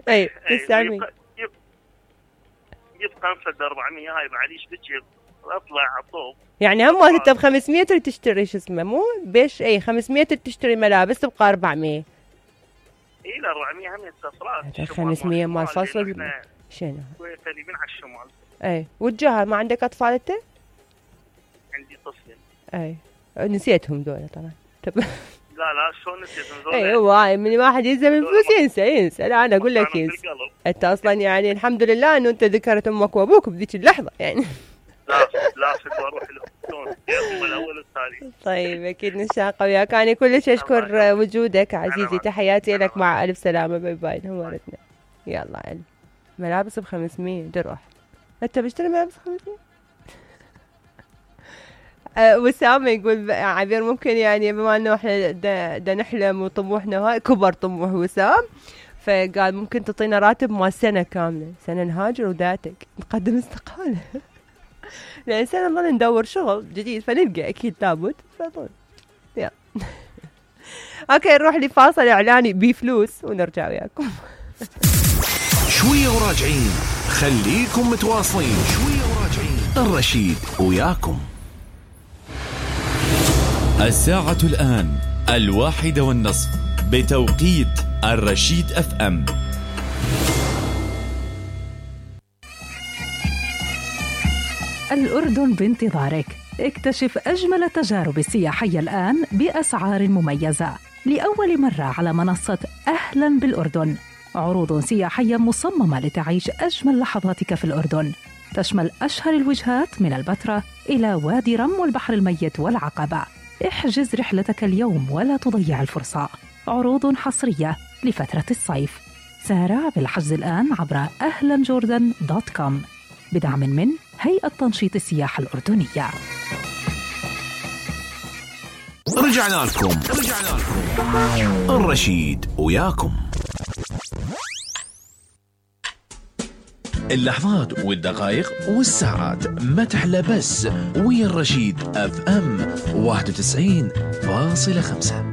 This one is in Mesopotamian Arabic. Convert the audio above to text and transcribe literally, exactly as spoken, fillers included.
اي تسعمية يبقى خمسة أربعمية هاي معليش بتجيب اطلع على الطوب. يعني هم انت ب خمسمية تريد تشتري شو اسمه مو بيش اي خمسمية تريد تشتري ملابس تبقى أربعمية. اي لا أربعمية هم يتصفرات خمسمية مال فصل شنو قريبين على الشمال. اي والجهه ما عندك اطفال انت؟ عندي طفلين. اي نسيتهم دول طبعا. لا لا شلون نسيتهم دول؟ اي هو من واحد يلزم الفلوس ينسى ينسى. لا انا اقول لك ينسى. انت اصلا يعني الحمد لله انه انت ذكرت امك وابوك بذيك اللحظه يعني. لا لا شكو اروح لهم يوم الاول والثاني. طيب اكيد نشاق وياك. انا كلش اشكر وجودك عزيزي. تحياتي لك مع الف سلامه. باي باي. نورتنا. يلا علي ملابس ب خمسمية تروح انت بشتري ملابس خمسمية. أه وسام يقول عبير ممكن يعني بما انه احنا دا نحلم وطموحنا هاي كبر طموح وسام فقال ممكن تعطينا راتب مال سنه كامله سنه نهاجر وذاتك نقدم استقاله. لان سنه نظل ندور شغل جديد فنلقى اكيد لابد فضل. يلا اوكي نروح لفاصل اعلاني بفلوس ونرجع وياكم. شويه وراجعين خليكم متواصلين. شويه وراجعين الرشيد وياكم. الساعة الآن الواحدة والنصف بتوقيت الرشيد اف ام. الأردن بانتظارك. اكتشف أجمل التجارب السياحية الآن بأسعار مميزة لأول مرة على منصة أهلا بالأردن. عروض سياحية مصممة لتعيش أجمل لحظاتك في الأردن، تشمل أشهر الوجهات من البتراء إلى وادي رم والبحر الميت والعقبة. احجز رحلتك اليوم ولا تضيع الفرصة. عروض حصرية لفترة الصيف. سارع بالحجز الآن عبر أهلا جوردن دوت كوم بدعم من هيئة تنشيط السياحة الأردنية. رجعنا لكم رجعنا لكم الرشيد وياكم. اللحظات والدقائق والساعات ما تحلى بس ويا الرشيد اف ام واحد وتسعين فاصلة خمسة.